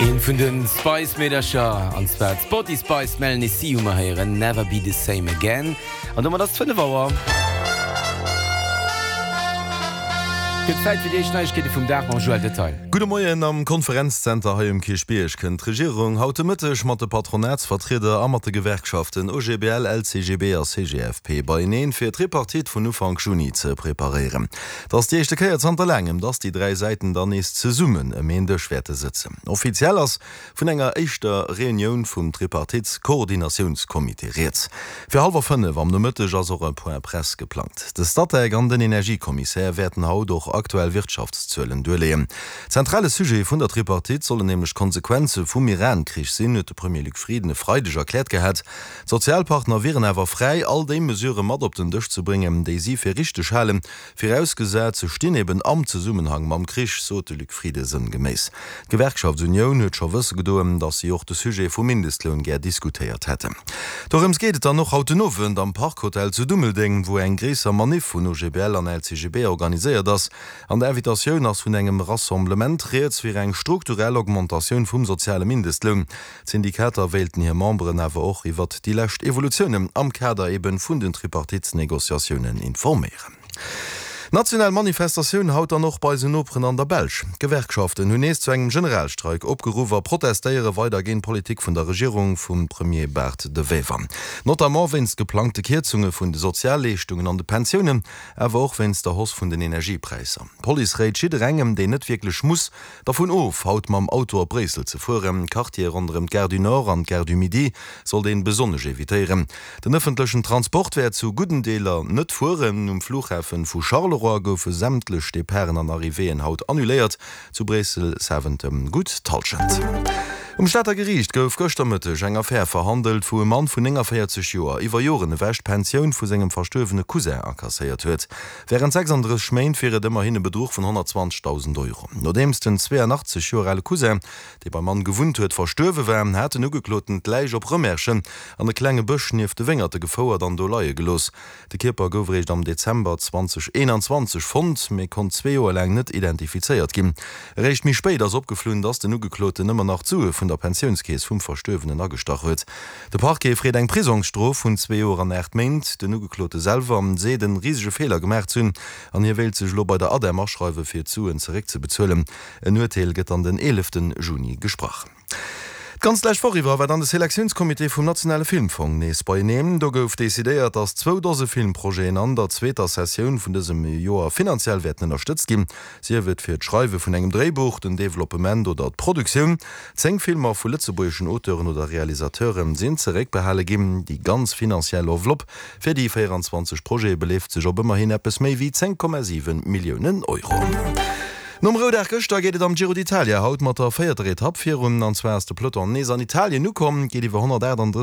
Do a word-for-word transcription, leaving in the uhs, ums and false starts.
Een vun de Spice-Meedercher, an zwar d'Sporty Spice Melanie C hu mer héieren, Never Be The Same Again. An domat ass et fënnef Auer. Gëtt Zäit fir déi éischt Neiegkeete vum Dag mam Joël Detaille. Gudde Moien. Am Konferenzzenter hei um Kierchbierg kënnt d'Regierung haut de Mëtteg mat de Patronatsvertrieder a mat de Gewerkschaften O G B L, L C G B a C G F P beieneen, fir d'Tripartite vun Ufank Juni ze preparéieren. Et ass déi éischte Kéier zanter laangem, dass déi dräi Säiten dann nees zesummen ëm een Dësch wäerte sëtzen. Offiziell ass vun enger éischter Reunioun vum Tripartite-Koordinatiounscomité rieds. Fir hallwer fënnef am Nomëtteg ass och e Point Presse geplangt. De Statec an den Energiekommissär wäerten haut och aktuell Wirtschaftszuelen duerleeën. Zentrale Sujet vun der Tripartite sollen nämlech d'Konsequenze vum Iran-Krich sinn, huet de Premier Luc Frieden e Freideg erkläert gehat. D'Sozialpartner wieren awer fräi, all déi Mesurë mat op den Dësch ze bréngen, déi si fir richteg halen, virausgesat se stinn eben am Zesummenhang mam Krich, sot de Luc Frieden sënngeméiss. D'Gewerkschaftsunioun huet scho wësse gedoen, datt si och de Sujet vum Mindestloun gär diskutéiert hätten. Dorëms geet et dann och haut den Owend am Park Hotel zu Dummeldeng, wou eng gréisser Maniff vun O G B L an L C G B organiséiert ass. An der Invitatioun ass vun engem Rassemblement rieds fir eng strukturell Augmentatioun vum soziale Mindestloun. D'Syndikater wéilten hir Memberen awer och iwwert déi lescht Evolutiounen am Kader eben vun den Tripartite-Negociatiounen informéieren. National Manifestatioun haut dann och bei eisen Noperen an der Belsch. D'Gewerkschaften hunn nees zu engem Generalstreik opgeruff a protestéiere weider géint d'Politik vun der Regierung vum Premier Bart De Wever. Notamment wéinst geplangte Kierzunge vun de Sozialleeschtungen an de Pensiounen, awer och wéinst der Hausse vun den Energiepräisser. D'Police réit jidderengem, deen net wierklech muss, dervun of, haut mam Auto op Bréissel ze fueren. D'Quartiere ronderëm d'Gare du Nord an d'Gare du Midi sollt een besonnesch evitéieren. Den ëffentlechen Transport wäert zu gudden Deeler net fueren. Um Flughafen vu Charleroi goufe sämtlech Departen an Arrivéeën haut annuléiert. Zu Bréissel Zaventem gutt d'Hallschent. Um Stater Geriicht gouf gëschter Mëtteg eng Affär verhandelt, wou e Mann vun néngavéierzeg Joer iwwer Joren ewech d'Pensioun vu sengem verstuerwene Cousin akasséiert huet. Wärend sechsanddrësseg Méint wier et ëmmerhin e Bedruch vun honnertzwanzegdausend Euro. Nodeems den zweeanachtzeg Joer ale Cousin, dee beim Mann gewunnt huet, verstuerwe war, hat den Ugekloten d'Läich op Rëmerschen an e klenge Bësch nieft de Wéngerte gefouert an do leie gelooss. De Kierper gouf eréischt am Dezember zweedausendeenanzwanzeg fonnt, mee konnt zwee Joer laang net identifizéiert ginn. Eréischt méi spéit ass opgeflunn, dass den Ugekloten ëmmer nach d'Sue vun der Pensiounskeess vum Verstuerwenen agestach huet. De Parquet freet eng Prisongsstrof vun zwee Joer an aacht Méint. Den Ugeklote selwer seet en risege Feeler gemaach ze hunn an hie wéilt sech elo bei der ADEM aschreiwe fir d'Suen zeréckzebezuelen. En Urteel gëtt dann den eelefte Juni gesprach. D'ganz lescht Woch iwwer war dann de Selektiounscomité vum nationale Filmfong nees beieneen. Do gouf decidéiert, datt zwou Dose Filmprojeten an der zweeter Sessioun vun dësem Joer finanziell wäerten ënnerstëtzt ginn, sief et fir d'Schreiwe vun engem Dréibuch, den Developpement oder d'Produktioun. Zéng Filmer vu lëtzebuergeschen Auteuren oder Realisateure sinn zeréckbehale ginn. Déi ganz finanziell Enveloppe fir déi véieranzwanzeg Projete beleeft sech op ëmmerhin eppes méi wéi zéng Komma siwe Milliounen Euro. Nom Roudag gëschter geet et am Giro d'Italia haut mat der véierter Etapp virun. An zwar ass de Peloton nees an Italien ukomm, geet iwwer honnertaachtanddrësseg.